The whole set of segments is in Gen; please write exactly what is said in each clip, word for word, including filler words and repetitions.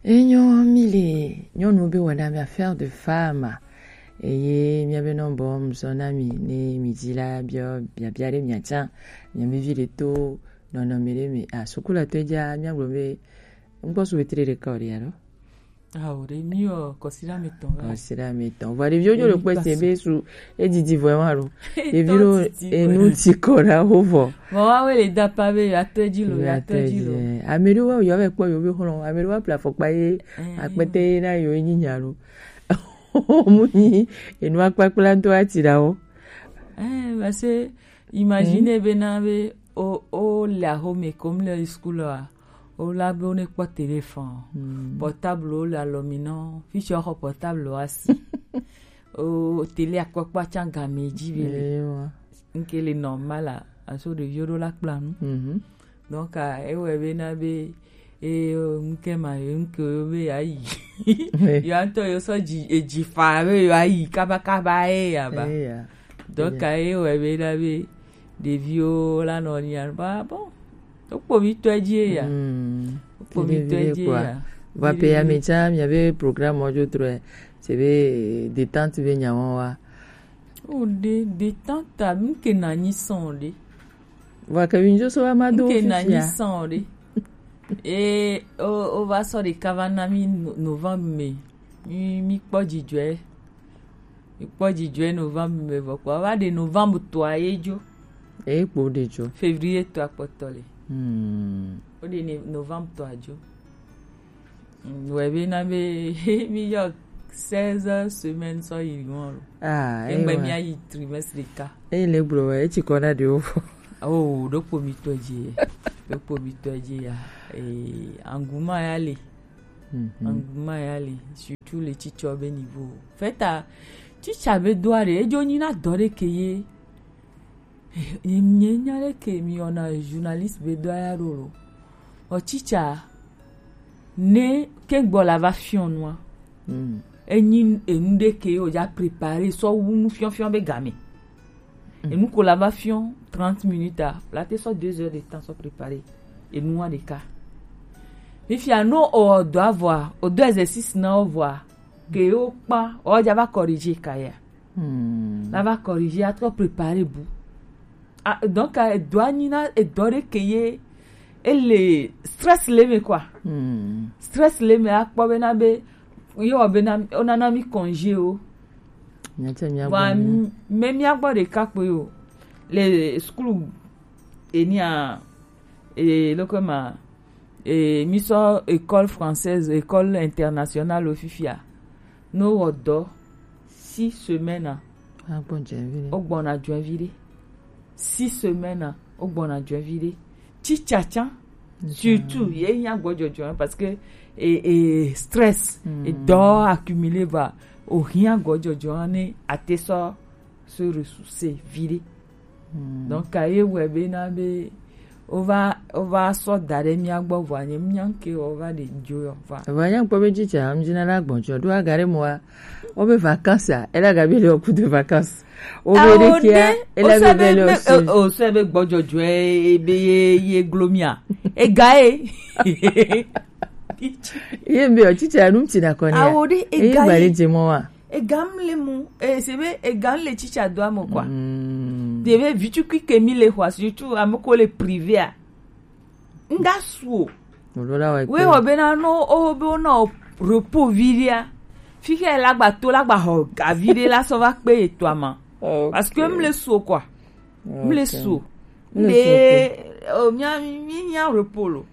Enyo, mi le nyɔnu be wɔna mi affaire de femme. Eye miabe nɔmbɔ mzɔ na mi ne mi dzi la biɔ biabia ɖe miatsa. Miabe vi ɖe to nɔnɔme ɖe me. Ah, sukulatɔ dza miagblɔ be ŋkpɔ su wetri ɖeka o ɖe alo? Ah, o ɖe, mi wɔ kɔsiɖa mi tɔn. Kɔsiɖa mi tɔn. Vɔ ɖeviwo dzo le kpɛ se be su edidi vɔ wa lo. Ɖevi ɖo enu ti kɔ ɖa wo vɔ. Vɔ wa we le da pa be ya tɔ dzi lo, ya tɔ dzi lo. Ame ɖewo wa yɔ vɛ kpɔ yewo be xlɔ, ame ɖewo wa ple afɔkpa ye akpete ye na yewo nyi nya lo. Mu nyi enu akpakpla ŋutɔ ati ɖa wo. Eh, parce que imagine be na be o, o le axome kom le school a, o la be o ne kpɔ téléphone, portable o le alɔ mi nɔ, fi tsi o xɔ portable wa si. O télé akpɔkpɔ atsa game dzi be le. Nke le normal a, aso ɖeviwo ɖo la kpla nu. Donc, ah, ewɔe be na be, e, ŋke ma, ŋke yo be ya yi. Yo ŋutɔ yo sɔ dzi, edzi fa be yo ayi kaba kaba e ya ba. Donc, ah, ewɔe be na be ɖeviwo la nɔ nya ba bon. Wokpɔ mi tɔ dzi ya. Wokpɔ mi tɔ dzi ya. Va pe ya mi tsa mi be programme wo dzo trɔ. C'est be détente be nya wa. O ɖe, détente a, ŋke na nyi sɔn ɖe. Vɔ ke mi dzo so wa ma do. Ŋke na nyi sɔn ɖe. E, o, o va sɔ ɖeka va na mi no-, novembre me. Mi, mi kpɔ dzidzɔe. Mi kpɔ dzidzɔe novembre me vɔ kpɔ. Va ɖe novembre tɔa ye dzo. E kpo ɖe dzo. Février tɔa kpɔtɔ le. Hmm. O ɖe ne novembre tɔa dzo. Mm, ouais, be na be mi yɔ seize semaines sɔ yi ŋɔ lo. Ah, egbe mi ayi trimestre ɖeka. Eyi le gblɔ wa, etsi kɔ na ɖewo fɔ. Oh, ɖokpo mi tɔ dzi, ɖokpo mi tɔ dzi ya. Eh, anguma ya le. Anguma ya le, surtout le teacher be niveau. Feta, teacher be do are, edzo nyi na dɔ ɖe ke ye. Nye, nye nya ɖe ke mi wɔna journaliste be do aya ɖo lo. O teacher, ne ke gbɔ la va fiɔ nua. Enyi enu ɖe ke o ja préparer sɔ wu nu fiɔfiɔ be game. Enu ko la va fiɔ trente minutes a, la te sɔ deux heures de temps sɔ préparer. Enua ɖeka. Fifia no o dɔ avɔa, o do exercice na o vɔa, ke o kpa, o ja va corriger ka ya. Hmm. La va corriger, a trop préparer bu. Ah, donc, eh, edɔ anyi na edɔ ɖe ke ye, ele stress le me quoi. Hmm. Stress le me akpɔ be na be, ye wɔ be na, o nana mi congé o. Nyatsa mi agba. Wa mi. Me mi agbɔ ɖeka kpe o. Le school enia, e, loko ma, e, mi sɔ école française, école internationale o fifia. No wɔ dɔ six semaines a. Agbɔ jɛvi ɖe. O gbɔna jɔɛvi ɖe. Six semaines a, o gbɔna jɔɛvi ɖe. Teacher tsã, surtout, ye hiã gbɔjɔjɔ, hein, parce que, e, e, stress, e dɔ accumulé va, o hiã gbɔjɔjɔ, hein, ne a te sɔ se ressourcer vi ɖe. Donc, ka ye wɛ be na be, o va, o va sɔ da ɖe mía gbɔ vɔ, anye mía ŋke o va ɖe dzo yɔ va. Eva nya kpɔ be tsitsa, am dzina la gbɔn tsɔ, ɖo aga ɖe mɔa, o be vacances a, ele aga be le o coup de vacances. O be ɖe kia, ele be be le o se. O se be gbɔjɔjɔ e, be ye, ye glo mía. Ega e. Ye mbe o tsitsa nu tsi na kɔ ne. Awo ɖe ega e. Ega m le mu, e, se be ega m le tsitsa do amo quoi. De be vitukui ke mi le xɔ, surtout ame ko le privé a. Nga su o. We o be na no, o be o na o repos vi ɖe a. Fi ke la gba to, la gba xɔ ga vi ɖe la sɔ va kpe etɔa ma. Parce que m le su o quoi. M le su o. M le, o mía, mi, mi nya repos lo.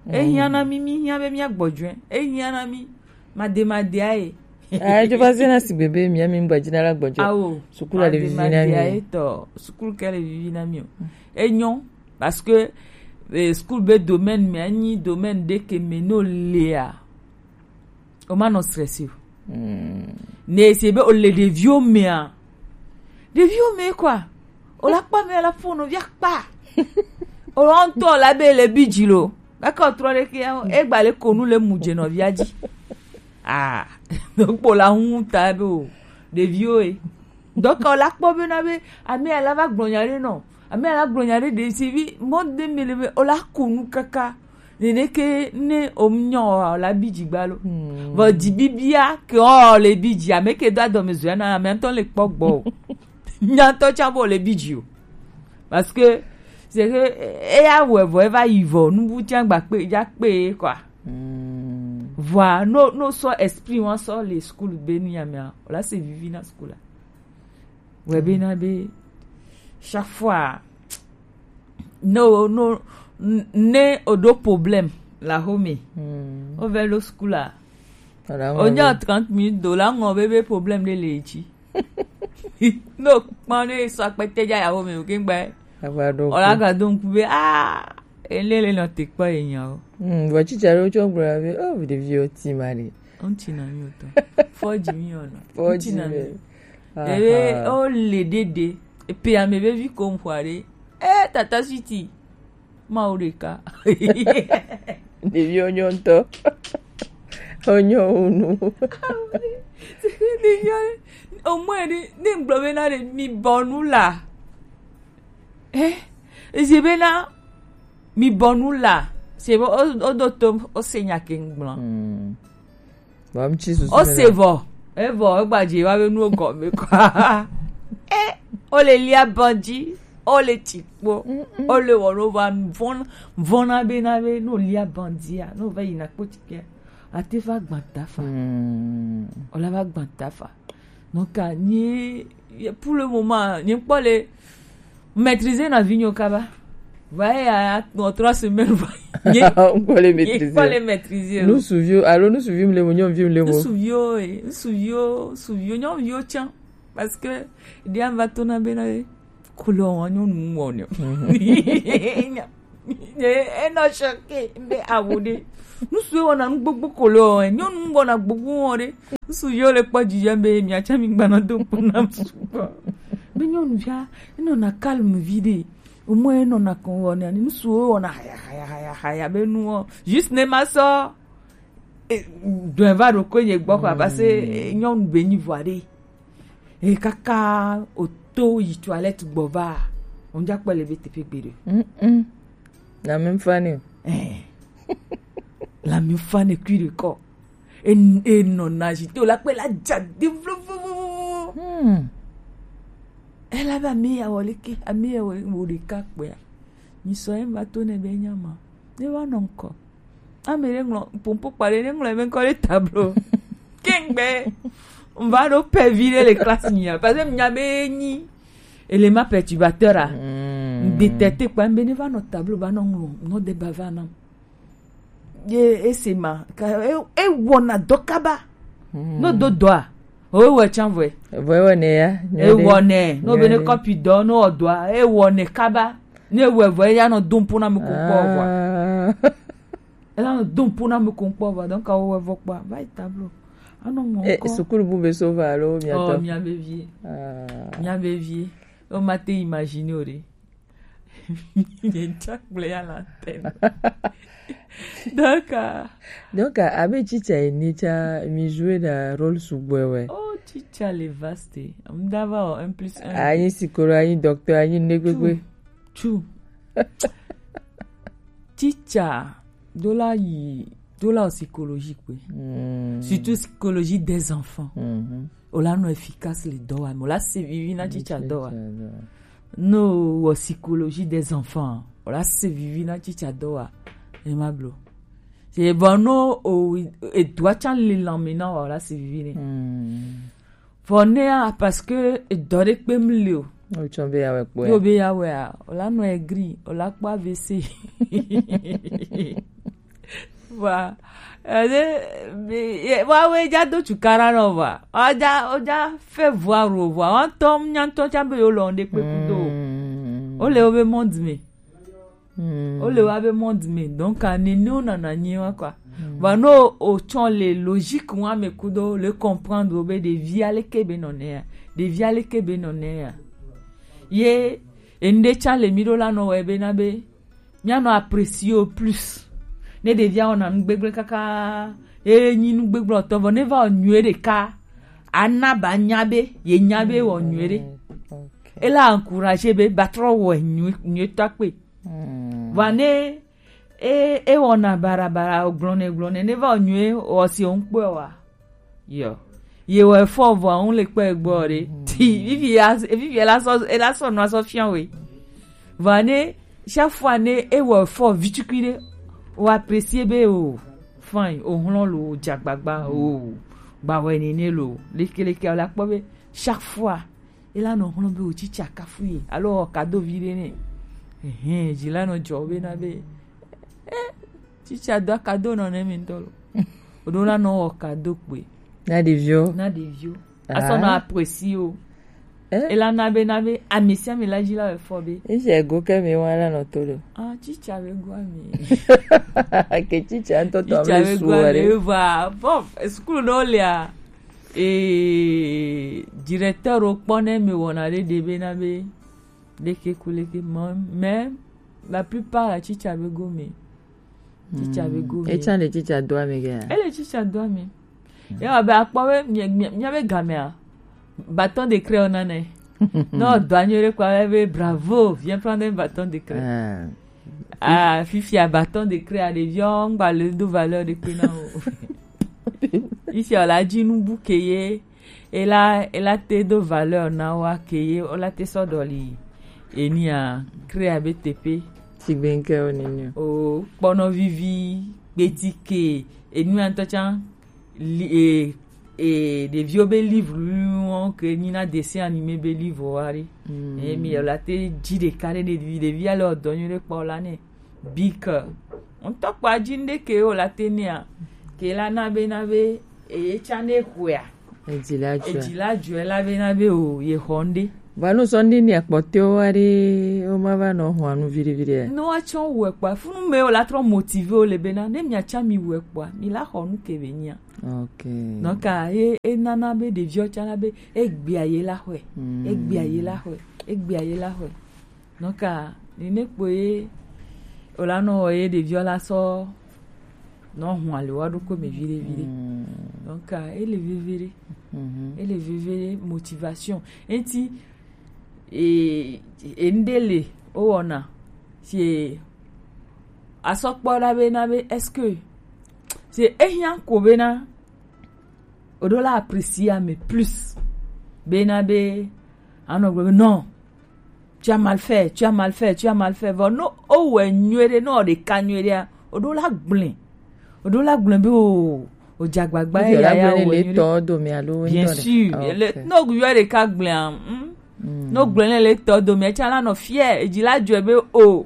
Ehiã na mi, mi hiã be mía gbɔjɔe. Ehiã na mi. Made, made aye. Ah, edzo va zena sigbe be mía mi ŋgba dzi na la gbɔjɔ. Awo. Sukulu le vivi na mi. Made, made aye tɔ. Sukulu ke le vivi na mi o. Enyo, parce que, eh, sukulu be domaine me anyi domaine ɖe ke me no lea. O ma nɔ stressé o. Ne se be o le ɖeviwo mea. Ɖeviwo me quoi. O la kpa me la fo no via kpa. O la ŋutɔ la be le bi dzi lo. Gake o trɔ ɖe ke ya, e gba le ko nu le mu dze nɔvia dzi. Ah, donc kpo la ŋu ta be o. Ɖeviwo e. Donc o la kpɔ be na be, ame ya la va gblɔ nya ɖe nɔ. Ame ya la gblɔ nya ɖe ɖe si vi, mɔ de me le be, o la ko nu kaka. Nene ke ne o mu nyɔ o la bi dzi gba lo. Vɔ dzi bibia ke o le bi dzi, ame ke do adɔme zɔe na ame ŋutɔ le kpɔ gbɔ o. Nya ŋutɔ tsa bo le bi dzi o. Parce que c'est que eya wɛ vɔ eva yi vɔ nubu tsa gba kpe dza kpe quoi. Vɔa no no sɔ esprit wa sɔ le school be nu ya mea, o la se vivi na school la. Wɛ be na be chaque fois no no n- ne o do problème la home. O ve lo school la. O nya trente minutes do la ŋɔ be be problème de le dzi. No kpɔn ne sɔ akpɛtɛ dza ya home o ke gba. Ava do. O la ga do ŋku be ah ele le nɔ te kpɔ ye nya o. Hmm, vɔ tsitsa ɖewo tsɔ gblɔ be oh ɖeviwo ti ma ɖe. Ŋuti na mi wotɔ. Fɔji mi ona. Fɔji mi. Ebe o le dede. Epe ame be vi ko ŋkua ɖe. Eh tata sweetie. Mawu ɖeka. Ɖeviwo nyɔ ŋutɔ. Wonyɔ wu nu. Ɖeviwo omwe ɖe ne ŋgblɔ be na ɖe mi bɔ nu la. Eh, ezi be na mi bɔ nu la. Se be o o do to o se nya ke ŋgblɔ. Vɔ ŋtsi susu o se vɔ evɔ egba dze wa be nuwo gɔme kɔ. E o le lia bandi o le tsi kpo o le wɔ no va vɔn vɔna be na be no lia bandia no va yina kpo tsi ke ate va gbanta fa o la va gbanta fa. Donc nye pour le moment nye kpɔ le maîtriser na vinyo kaba. Va ya en trois semaines va. Nye kpɔ le maîtriser. Kpɔ le maîtriser. Nous suivions alors nous suivions le mignon vieux le nous suivions nous suivions suivions non vieux tiens parce que dia va tourner ben là. Couleur on nous on. Enɔ choqué be awo de. Nous suivions on a nous beaucoup couleur on nous on a beaucoup on de. Ŋsu yiwo le kpɔ dzidzɔ be miatsã mi gbana do kpo nam sugbɔ. Be nyɔnuvia enɔna calme vi ɖe. Omɔ enɔna kɔn wɔna ni ŋsuwo wɔna haya haya haya haya be nuwo. Juste ne ma sɔ dɔn va ɖo ko nye gbɔ kɔ abase nyɔnu be nyi vɔa ɖe. E kaka o to yi toilette gbɔ va. O ŋdza kpɔ le be teƒe gbe ɖe. Mm-mm. La même fan. Eh. La même fan kui de kɔ. E e nɔ na zi te o la kpe la dza de vlovovovo. Hmm. Ela be ame ya wɔ leke ame ya wɔ wo ɖeka kpɔa. Mi sɔ ye va to ne be nya ma. Ne va nɔ ŋkɔ. Ame ɖe ŋlɔ pompo kpa ɖe ne ŋlɔ eme ŋkɔ ɖe tablo. Kengbe. N va ɖo pɛvi ɖe le classe nya parce que nya be nyi élément perturbateur a. Hmm. N détecte kpa be ne va nɔ tablo va nɔ ŋlɔ nɔ de ba va nam. Ye ese ma ka e e wɔna dɔ kaba. No do dɔa. O wɔ tsan vɔe. Vɔe wɔ ne ya. E wɔ ne no be ne kɔpi dɔ no wɔ dɔa e wɔ ne kaba. Ne wɔ vɔe ya no dum puna mi ko kpɔ vɔa. E la no dum puna mi ko kpɔ vɔa donc awo wɔ vɔ kpɔ va yi tablo. Ano mo ko. Sukulu bu be so va alo mi ato. Oh mi a be vie. Mi a be vie. O ma te imaginer o de. Nye ŋtsa kple ya la te. Donc, euh, donc euh, abe tsitsa ene tsa mi joue ɖe rôle sugbɔ wɛ. Oh tsitsa le vaste. Mdava o un plus un. Anyi sikolo, anyi docteur, anyi negbegbe. Tsu. Tsitsa do la yi do la o psychologie kpe. Surtout psychologie des enfants. O la nɔ efficace le dɔ wa me o la se vivi na tsitsa dɔ wa. No wɔ psychologie des enfants o la se vivi na tsitsa dɔ wa. E ma blo se vɔ no o edua tsa le lanme na wa o la se vivi ne. Vɔ ne a parce que edɔ ɖe kpe mu le o. O tsɔ be ya wɛ kpɔ yo be ya wɛ a o la nɔ egri o la kpɔ avc. Wa ede wa we ja do tukara no wa oja oja fe vua ro vua wa to nya to cha be yo lo nde pe kudo. O le o be monde me. O le wa be monde me donc a ne ne o nana nyi wa quoi. Wa no o chon le logique wa me kudo le comprendre o be de vie ale ke be no ne ya de vie ale ke be no ne ya. Ye ende cha le mi do la no we be na be Míanɔ apprécier wo plus. Ne ɖevia wɔna nu gbegblẽ kaka, ye nyi nu gbegblẽtɔ, vɔ ne va wɔ nyuie ɖeka, ana ba nya be, ye nya be wɔ nyuie ɖe. Ela encourager be ba trɔ wɔ nyuie, nyuie tɔ kpe. Vɔ ne e e wɔna barabara, o gblɔnɛ gblɔnɛ ne va o nyuie, o si o ŋkpɔe wa. Yo. Ye wɔ efɔ vɔ, ŋu le kpɛ gbɔ ɖe. Ti vivi ya, vivi ya la sɔ, e la sɔ nɔ sɔ fian we. Vɔ ne, chaque fois ne e wɔ efɔ vitukui ɖe, o apprécier be o, fine, o hlɔn lo, o jagbagba, o gbawɛ nene lo, lekeleke, o la kpɔ be chaque fois e la nɔ hlɔn be o tsitsa kafu ye, alo o kado vi ɖe nɛ. Ehɛn, dzi la nɔ dzɔ be na be, eh, tsitsa do akado nɔ ne mi ŋutɔ lo. O ɖo la nɔ wɔ kado kpe. Na ɖeviwo. Na ɖeviwo. Asɔ nɔ apprécier o. Eh? E la na be, na be ami sia ami la dzi la wɔ efɔ be. Ŋsɛ go ke mi wa la nɔ to ɖo. Ah, tsitsa be go ami. Ke tsitsa ŋutɔ tɔ mi su wɔ ɖe. Va, bon, sukulu ɖewo lia, eh, directeur wo kpɔ ne mi wɔna ɖe ɖe be na be, ɖeke ku leke, mais, mais la plupart la tsitsa be go mi. Tsitsa be go mi. Etsã le tsitsa do ame gea? Ele tsitsa do ame. Ya be akpɔ be mia, mia, mia be gamea, bâton de craie o nane. No, do anyo ɖe kpɔ be bravo, viens prendre un bâton de craie. Ah, fifia bâton de craie a ɖeviwo ŋgba le do valeur ɖe kpe na o. Fifia o la dzi nu bu ke ye, e la, e la te do valeur na wa ke ye, o la te sɔ ɖɔli. Enia, craie a be teƒe. Sigbe ŋke o nini o. O kpɔnɔ vivi, gbeti ke, enu ya ŋutɔ tsã, li, e, e, ɖeviwo be livre wo ke nyina dessin animé be livre wa ɖe. Mm. E mi o la te dzi ɖeka ɖe ɖevi, ɖevi ale o dɔ nyuie ɖe kpɔ la ne. Bike. Ŋutɔ kpa dzi ŋɖe ke o la te nea. Ke la na be, na be, eye tsã ne hwea. Edzi la dzɔe. Edzi la dzɔe la be na be o, ye xɔ ŋɖe. Va nu sɔ ŋɖe ni akpɔtɛwo wa ɖe, wo ma va nɔ hɔn nu viɖe viɖe. Ne wa tsɔ wɛ kpa, funu me o la trɔ motivé o le be na, ne mia tsã mi wɛ kpa, mi la xɔ nu ke be nyia. Ok. Donc, a, e, e nana be ɖeviwo tsã la be, egbea ye la xɔe. Mm. Egbea ye la xɔe. Egbea ye la xɔe. Donc, a, nene kpoe, o la nɔ wɔ ye ɖeviwo la sɔ nɔ hun ali wa ɖokui me viɖe viɖe. Mm. Donc, a, ele veve ɖe. Mhm. Ele veve ɖe motivation. Enti, e, e, ŋɖe le, o wɔna. Si asɔ kpɔ ɖa be na be, est-ce que, si ehiã ko be na, o ɖo la apprécier ame plus. Be na be, anɔ gblɔ be, non, tu as mal fait, tu as mal fait, tu as mal fait. Vɔ, no, o wɛ nyuie ɖe, no, o ɖeka nyuie ɖea, o ɖo la gblẽ. O ɖo la gblẽ be o, o dze agbagba ye ya ya o wɛ nyuie ɖe. Bien sûr, le, no, yɔ ɖeka gblẽa, hmm? Mm. No gblẽ le, le tɔ dome, etsã la nɔ fier, edzi la dzɔe be o.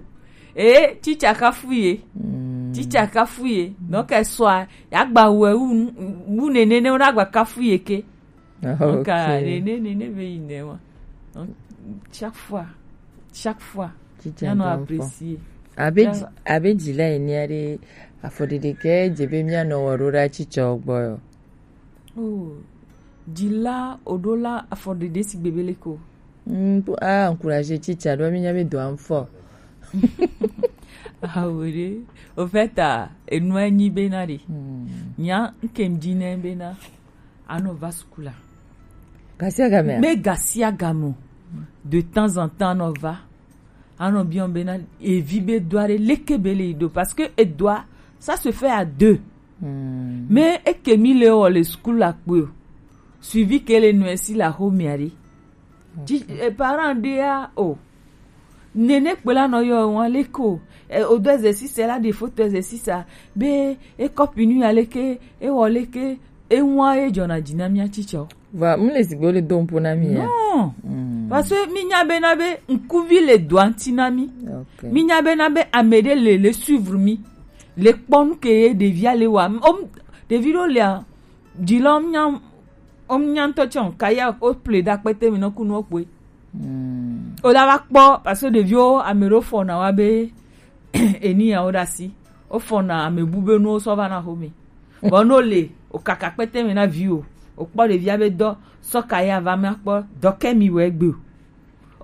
E, tsitsa kafu ye. Mm. Tsitsa kafu ye. Donc, esɔa, ya gba wɛ wu, wu nene ne, o na gba kafu ye ke. Donc, ah, ok. Nene, nene be yi ne wa. Donc, chaque fois, chaque fois, tsitsa ya nɔ apprécier. Abe, abe dzi la yi ne ɖe afɔɖeɖe ke dze be mia nɔ wɔ ɖo ɖa tsitsa gbɔ yo. Oh, dzi la, o ɖo la afɔɖeɖe si gbebe le ko. Mm, a encourager tsitsa ɖo mi nya be do am fɔ. Awo ɖe. Au fait, a, enu anyi be na ɖe. Mm. Nya, nke m dzi ne be na. Anɔ va sukula. Gasia game a? Be gasia game o. De temps en temps, anɔ va. Anɔ biɔ be na evi be doa ɖe leke be le yi ɖo. Parce que edoa, ça se fait à deux. Hmm. Mais eke mi le wɔ le sukulu la kpe o. Suivi ke le nɔe si la xo mia ɖe. Ok. Ti, eh, parent ɖe ya o. Nene kpe la nɔ yɔ wan le ko. Eh, o do exercice la, de photo exercice a. Be e copie nu ya leke, e wɔ leke, e wan e jɔna dzi na mia tsitsɔ. Va, mu le sigbe le do ŋpo na mi ya. Non. Hmm. Parce que mi nya be na be ŋkuvi le doa ŋti na mi. Ok. Mi nya be na be ame ɖe le, le suivre mi. Le kpɔ nu ke ye ɖevia le wa. O, ɖevi ɖo le a, dzi lɔ nya, o nya ŋutɔ tsɔ, kaya o ple ɖa kpete mi nɔ ku nu o kpoe. Hmm. O la va kpɔ, parce que ɖeviwo ame ɖewo fɔna wa be, eni ya wo ɖe asi. Wofɔna ame bu be nuwo sɔ va na xome. Vɔ no le, o kaka kpete me na vi o. O kpɔ ɖevia be dɔ, sɔ ka ya va me akpɔ, dɔ ke mi wɔ egbe o.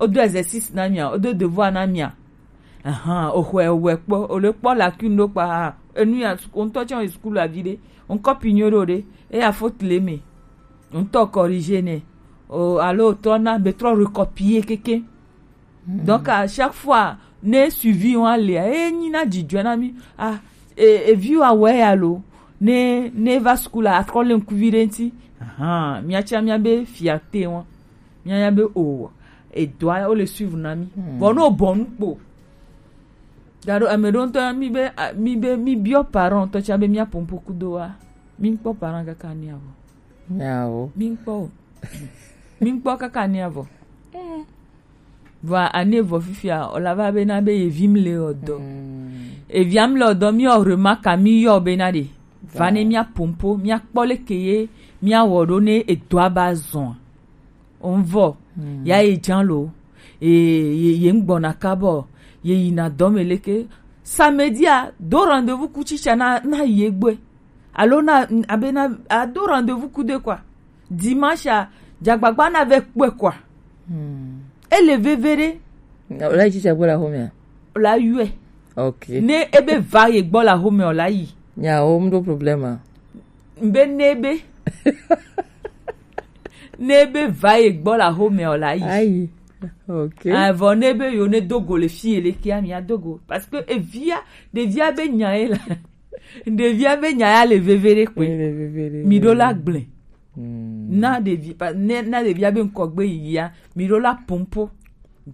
O do exercice na mia, o do devoir na mia. Ahan, o xɔe o wɛ kpɔ, o le kpɔ lacune ɖo kpa ha. Enu ya, o ŋutɔ tsɛ o yi sukulu avi ɖe. O ŋkɔ pi nyo ɖo ɖe. Eya faute le me. O ŋutɔ corriger nɛ. O, alo o trɔ na, be trɔ recopier keke. Hmm. Donc, à chaque fois, Ne suivi wa le, e nyi na jijɔ na mi. Ah, e, e vi wa wɛ ya lo. Ne, ne va school a, atrɔ le ŋkuvi ɖe ŋti. Ahan, mia tsa mia be fierté wa. Mia ya be o, e doa, o le suivre na mi. Hmm. Bon, no bon kpo. Gado, ame ɖo ŋtɔ, mi be, a, mi be, mi biɔ parent tɔ tsa be mia pompo kudo wa. Mi kpɔ parent kaka ni avɔ. Nyawo. Mi kpɔ o. Mi kpɔ kaka ni avɔ. Vɔa, ane vɔ fifia, o la va be na be ye vi mi le o dɔ. Hmm. E via mi le o dɔ, mi o remarque mi yɔ be na de. Va ne mia pompo, mia kpɔ leke ye, mia wɔ ɖo ne edoa ba zɔn. O vɔ, hmm, ya ye jan lo. E, ye, ye ŋgbɔna kabɔ, ye yina dɔ me leke. Samedi a, do rendez-vous ku tsitsa na, na ye gbe. Alo na, abe na, a do rendez-vous ku de quoi. Dimanche a, dzagbagba na ve kpɔe quoi. Hmm. Ele veve ɖe. O la yi tsitsa gbɔ la home a? O la yue. Ok. Ne ebe va ye gbɔ la home o la yi. Nya o mdo problème a. Mbe ne be. Ne be va ye gbɔ la home o la yi. Ayi. Ok. Avɔ ne be yo ne dogo le fi ele kia mi a dogo. Parce que evia, ɖevia be nya ye la. Ɖevia be nya ya le veve ɖe kpe. Ele veve ɖe. Mi ɖo la gblẽ. Hmm. Na ɖevi, pa-, ne, na ɖevia be ŋkɔgbe yiyia, mi ɖo la pompo.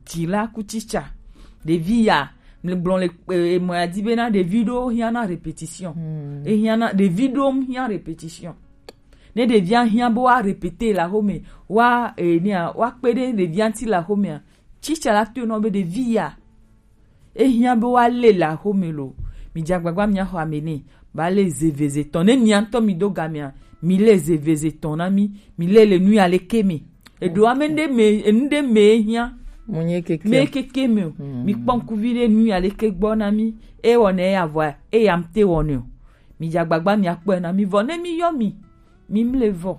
Dila ku tsitsa. Ɖevi ya, mi gblɔ le, e, e, mɔ ya di be na ɖevi ɖo hiã na répétition. Hmm. E hiã na, ɖevi ɖo hiã répétition. Ne ɖevia hiã be wa répéter la home, wa, e, nia, wa kpe ɖe ɖevia ŋti la home a. Tsitsa la to nɔ be ɖevi ya. E hiã be wa le la home lo. Mi dzagbagba mia xɔ ame ne. Ba le zeveze tɔn. Ne mia ŋtɔ mi do gamea, mi le zeveze tɔn na mi. Mi le le nu ya le ke me. Eɖo ame ɖe me, enu ɖe me hiã. Mo nye keke. Me keke me o. Hmm. Mi kpɔ ŋkuvi ɖe nu ya le ke gbɔ na mi. E wɔ ne ya vɔ, e ya mte wɔ ne o. Mi dzagbagba mia kpɔe na mi vɔ ne mi yɔ mi. Mi mle vɔ.